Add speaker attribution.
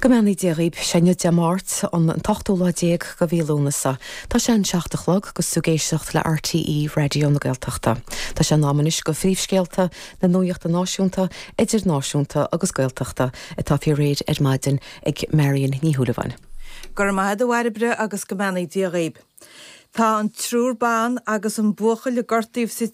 Speaker 1: Go mbeannaí Dia dhaoib, sé inniu Dé Máirt, an t-ochtú lá déag de mhí Lúnasa. Tá sé an seacht a chlog agus tú ag éisteacht le RTÉ Raidió na Gaeltachta. Tá sé in am anois do phríomhscéalta na nuachta náisiúnta, idirnáisiúnta agus Gaeltachta atá faoi réir ar maidin ag Marion Ní Shúilleabháin.
Speaker 2: Go raibh maith agat a Bhairbre agus go mbeannaí Dia dhaoib. Tá an triúr ban agus an buachaill a gortaíodh sa.